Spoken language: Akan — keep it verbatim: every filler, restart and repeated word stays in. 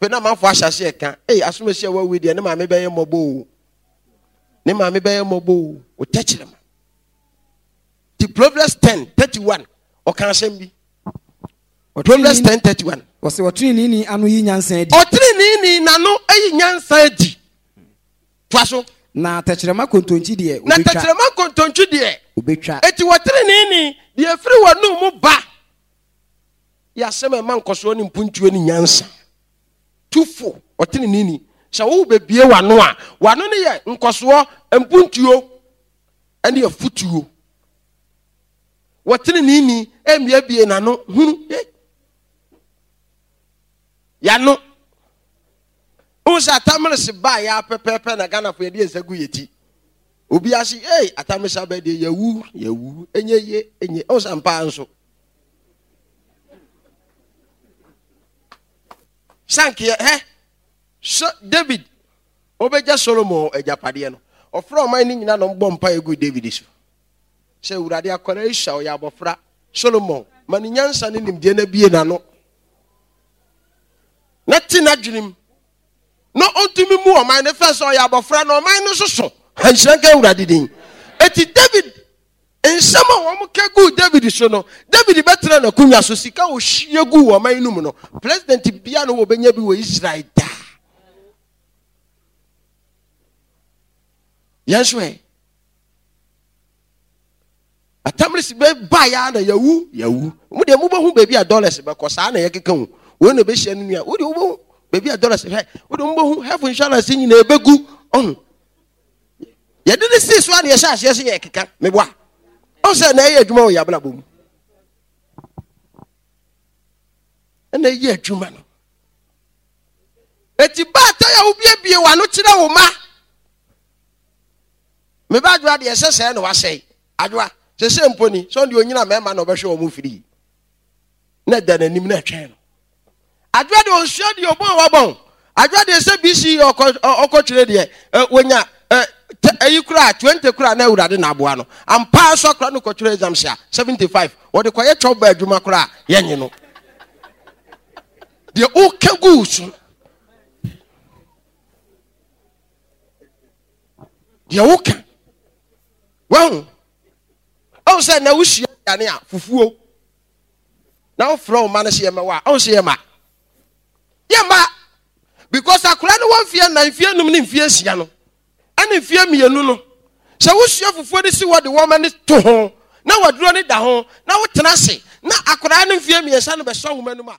Fɛ na amanfoɔ ahyɛ aseɛ ka, ei, asomasi a wawu deɛ ne maame bɛyɛ mmɔbɔ o. Ne maame bɛyɛ mmɔbɔ o. Wo tɛkyerɛma. Ti Proverbs ten thirty one ɔka asɛm bi. Proverbs ten thirty one. Wɔsɛ ɔteneneeni ano yi nyansa adi. Ɔteneneeni n'ano yi nyansa adi. Toa so. Na tɛkyerɛma kontonkyi deɛ obetwa. Na tɛkyerɛma kontonkyi deɛ obetwa. Eti wɔteneneeni deɛ efiri wɔn mu ba. Yɛ asɛm a ɛma nkɔsoɔ ne mpuntuo ne nyansa. Tu fo ɔteneneeni. Sɛ wo bebie w'ano a, w'ano no yɛ nkɔsoɔ, mpuntuo ɛne afutuo. Wɔteneneeni mmiebie n'ano hunu. Yano. Wohu sɛ Atamerese baa yɛ pɛpɛɛpɛ na Ghanafo yɛde yɛn nsa gu yɛ ti. Obi ase, ei, Atamerese aba deɛ yɛwu, yɛwu, ɛnyɛ ye, ɛnyɛ. Wohu sɛ mpaa nso. Sankeɛ, hɛ, so David, ɔbɛgya Solomon agyapadeɛ no, ɔfrɛ ɔman no nyinaa na ɔmbɔ mpaeɛ gu David so. Sɛ Awurade akwadaa yi sua, ɔyɛ abɔfra, Solomon, ma ne nyansa ne nimdeɛ no abie n'ano. Na te n'adwenem na ɔntumi mu ɔman no fɛ sɛ ɔyɛ abɔfra na ɔman no soso. Nhyira nka Awurade din. Eti David nsɛm a wɔn ka guu David so no, David bɛtena n'akonnwa so, sika a ɔhwie guu ɔman no mu no, president bia no wɔbɛnya bi wɔ Israel daa. Yɛn nso ɛ Atamris bɛ ba ya na yawu yawu. Mo deɛ mobɛhu baabi a dollars bɛkɔ saa na yɛkeka ho. Wei na ɛbɛhyia no nua. Wo deɛ wobɛhu baabi a dollars hwɛ. Wo deɛ mobɛhu health insurance nyinaa ɛbɛgu. Ɔho. Yɛde ne sii so a na yɛhyɛ aseɛ sɛ yɛkeka. Meboa. Ɔho sɛ na ɛyɛ adwuma wɔ yɛ abrabɔ mu. Ɛna ɛyɛ adwuma no. Eti baatan a wobiebie w'ano kyerɛ wo ma. Me ba adwoa deɛ ɛsɛ sɛɛ na wasɛe. Adwoa, sese mpo ni, sɛ ɔno deɛ onyina mmarima na ɔbɛhwɛ wɔn firi. Na ɛda n'anim na ɛtwɛn no. Adwoa deɛ ɔnsua deɛ ɔbɔn wabɔn. Adwoa deɛ sɛ B C ɔkɔ ɔkɔtwerɛ deɛ wɔnya ɛyi koraa twenty koraa na Awurade na aboa no. Ampa nso akora no kɔtwerɛ exams a seventy-five wɔde kɔyɛ twɛw ba adwuma koraa yɛnye no. Deɛ woka gu so deɛ woka wahu ɔhu sɛ na wosua aduane a fufuo na wofrɛ wo ma no sɛ yɛmɛwɔ a ɔhu sɛ yɛma yɛma because akora no wɔ mfeɛ nnan, mfeɛ num ne mfeɛ nsia no ɛne mfeɛ mmienu no, sɛ wosua fufuo no si hɔ de wɔma no to ho na waduro no da ho na wotena ase na akwadaa no mfeɛ mmiɛnsa no bɛsɔ nwoma no mu a